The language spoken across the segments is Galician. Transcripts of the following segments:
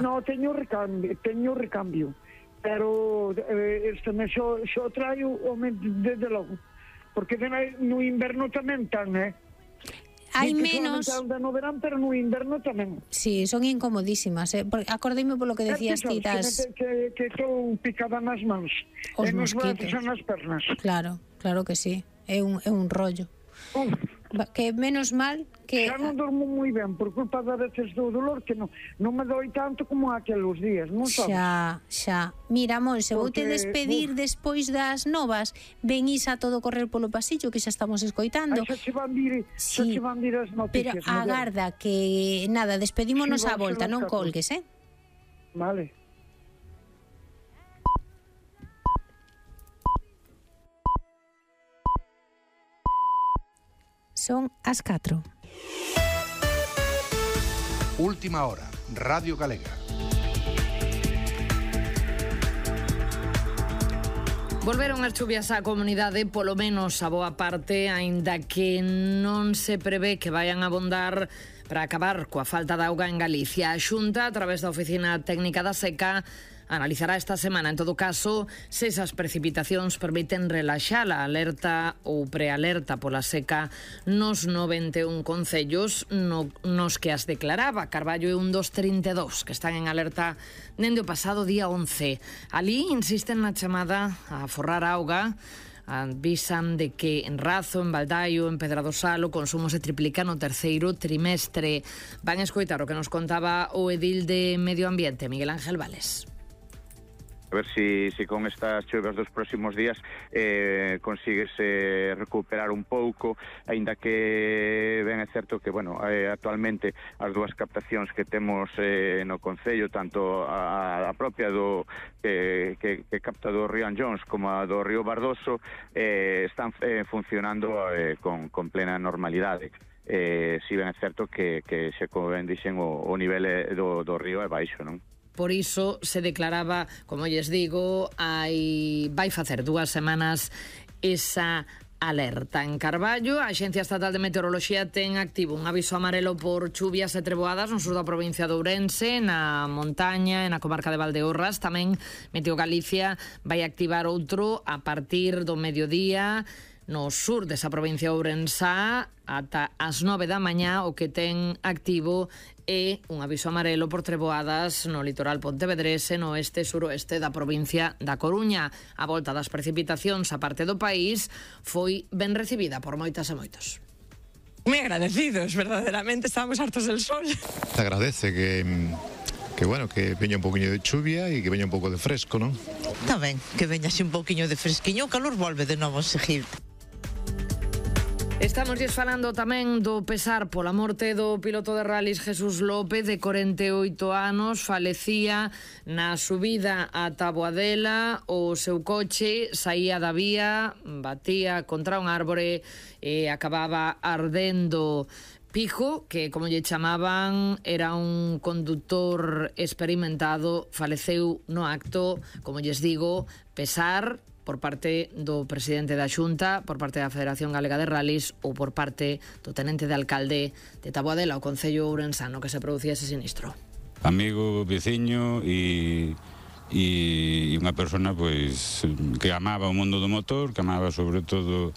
No, teño recambio, pero este mes xo traio desde logo, porque no inverno tamén tan, hai menos no verán, pero no inverno tamén. Sí, son incomodísimas, acordeime polo que decías ti das... que estou picada nas mans os e nos mosquitos brazos e nas pernas. Claro que sí, é un rollo. Que menos mal que... Xa non dormo moi ben por culpa da veces do dolor, que non me doi tanto como aqueles días, non sabes? Xa. Mira, Monse, voute despedir despois das novas. Ven Isa a todo correr polo pasillo, que xa estamos escoitando. Xa se van vir as noticias. Pero agarda que, nada, despedímonos á volta, non colgues, Vale. Son as 4. Última hora, Radio Galega. Volveron as chuvias á comunidade, polo menos a boa parte, aínda que non se prevé que vayan a abondar para acabar coa falta de auga en Galicia. A Xunta, a través da Oficina Técnica da Seca, analizará esta semana, en todo caso, se esas precipitacións permiten relaxar a alerta ou prealerta pola seca nos 91 concellos nos que as declaraba Carballo e un dos 32 que están en alerta dende o pasado día 11. Ali insisten na chamada a aforrar auga. Avisan de que en Razo, en Baldaio, en Pedradosal o consumo se triplica no terceiro trimestre. Van a escoitar o que nos contaba o edil de Medio Ambiente, Miguel Ángel Vales. A ver si con estas chuvas dos próximos días consigues recuperar un pouco, aínda que ben é certo que, actualmente as dúas captacións que temos no concello, tanto a propia que capta do río Anllóns como a do río Bardoso, están funcionando con plena normalidade. Si ben é certo que se, como ben dixen, o nivel do río é baixo, non? Por iso se declaraba, como lles digo, vai facer 2 semanas esa alerta. En Carballo, a Axencia Estatal de Meteoroloxía ten activo un aviso amarelo por chuvias e treboadas no sur da provincia de Ourense, na montaña e na comarca de Valdeorras. Tamén Meteo Galicia vai activar outro a partir do mediodía no sur desa provincia ourensá ata as 9 da mañá. O que ten activo é un aviso amarelo por treboadas no litoral pontevedrese, no oeste e suroeste da provincia da Coruña. A volta das precipitacións a parte do país foi ben recibida por moitas e moitos. Moi agradecidos, verdaderamente, estábamos hartos del sol. Se agradece que veña un poquinho de chuvia e que veña un pouco de fresco, non? Está ben, que veña así un poquinho de fresquiño, o calor volve de novo a seguir. Estamos falando tamén do pesar pola morte do piloto de rallies Jesús López, de 48 anos, falecía na subida a Taboadela. O seu coche saía da vía, batía contra un árbore e acababa ardendo. Pijo, que como lle chamaban, era un conductor experimentado, faleceu no acto. Como lles digo, pesar por parte do presidente da Xunta, por parte da Federación Galega de Rallies ou por parte do tenente de alcalde de Taboadela, o concello ourensano, que se producía ese sinistro. Amigo, veciño e unha persona pois que amaba o mundo do motor, que amaba sobre todo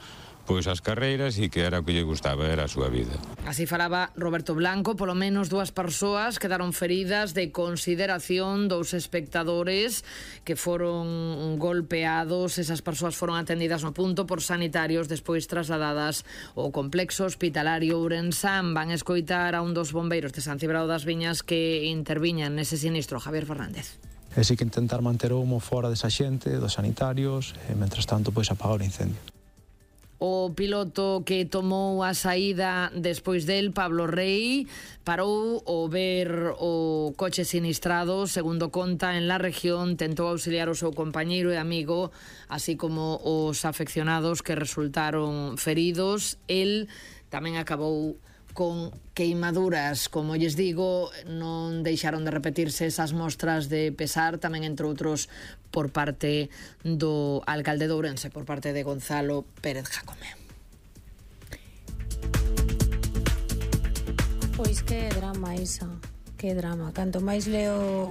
pois as carreiras e que era o que lle gustaba, era a súa vida. Así falaba Roberto Blanco. Polo menos 2 persoas quedaron feridas de consideración, 2 espectadores que foron golpeados. Esas persoas foron atendidas no punto por sanitarios, despois trasladadas ao complexo hospitalario ourensán. Van escoitar a un dos bombeiros de San Cibrao das Viñas que interviñan nese sinistro, Javier Fernández. E si que intentar manter o humo fora desa xente, dos sanitarios, e mentras tanto pois apagar o incendio. O piloto que tomou a saída despois del, Pablo Rey, parou ao ver o coche sinistrado. Segundo conta, en la región tentou auxiliar o seu compañeiro e amigo, así como os afeccionados que resultaron feridos. El tamén acabou con queimaduras. Como lles digo, non deixaron de repetirse esas mostras de pesar, tamén entre outros por parte do alcalde de Ourense, por parte de Gonzalo Pérez Jacome. Pois que drama esa, que drama. Canto máis leo